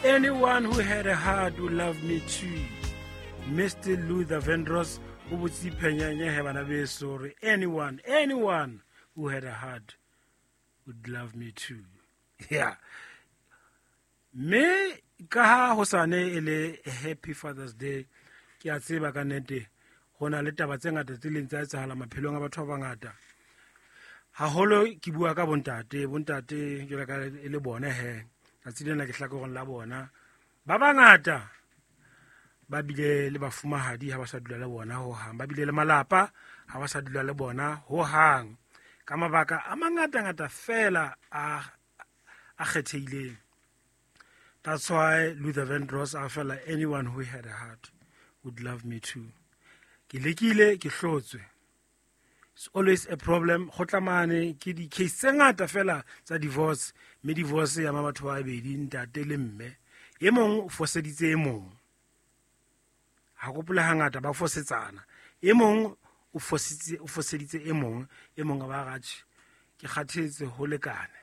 Anyone who had a heart would love me too. Mr. Luther Vandross o botse phenyanye he bana beso hore anyone who had a heart would love me too. Yeah. Mme ka ha hosane e le Happy Father's Day, ke a tseba ka nnete ho na le taba tse ngata tse leng tsa etsahala maphelong a batho ba bangata. Haholo ke bua ka bontate, bontate jwalo ka e le bone he. Tsatsi lena ke hlakoreng la bona. Ba bangata ba bile le bafumahadi ha ba sa dula le bona hohang, ba bile le malapa ha ba sa dula le bona hohang, ka mabaka a mangatangata fela a kgethehileng. That's why Luther Vandross a fela anyone who had a heart would love me too. Ke lekile, ke hlotswe. It's always a problem. Go tla mane ke di-case tse ngata fela tsa divorce, mme divorce ya ma batho ba babedi, ntate le mme. E mong o foseditse e mong. Ha kopole hangata ba fosetsana. E mong o foseditse e mong, e mong a ba ratjhe. Ke kgathetse ho lekane.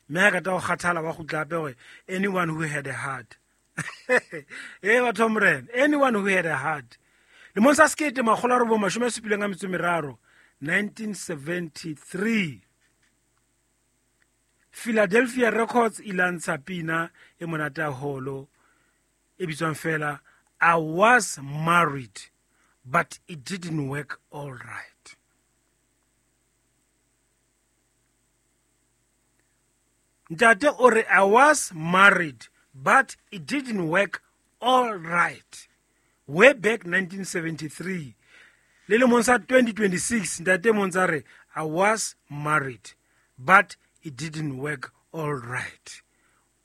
Mme ha kata ho kgathala wa kgutla hape hore anyone who had a heart. Eh batho morena, anyone who had a heart. Lemong sa 1973, 1973 Philadelphia Records e lantsha pina e monate haholo e bitswang fela I was married but it didn't work all right. Ntate o re I was married but it didn't work all right. Way back 1973. Le lemong sa 2026 ntate montsa re I was married but it didn't work all right.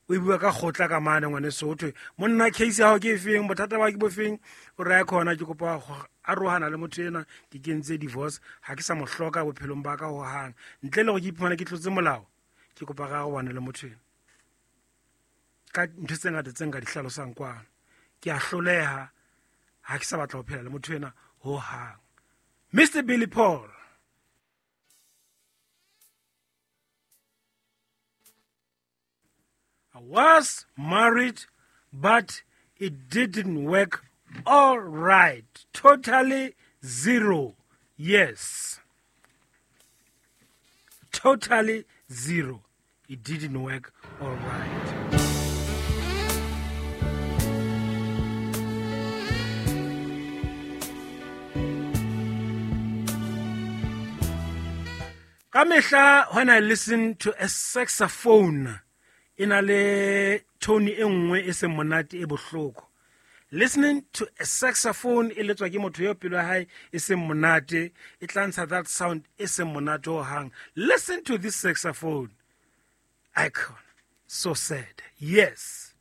O bua ka kgotla ka mane ngwaneso, ho thwe monna case ya hao ke efeng, bothata ba ke bofeng, o re a khona ke kopa go arohana le motho ena, ke kentse divorce, ha ke sa mo hloka bophelong ba ka hohang, ntle le hore ke iphumane ke tlotse molao, ke kopa ga arohane le motho ena. Ka ntho tse ngata tse nka di hlalosang kwano, ke a hloleha, ha ke sa batla ho phela le motho ena hohang. Mr. Billy Paul. I was married, but it didn't work all right. Totally zero. Yes. Totally zero. It didn't work all right. Ka mehla, when I listen to a saxophone, e na le tone e nngwe e seng monate e bohloko. Listening to a saxophone e letswa ke motho eo pelo ya hae e seng monate, e tla ntsha that sound e seng monate hohang. Listen to this saxophone. Icon. So sad. Yes.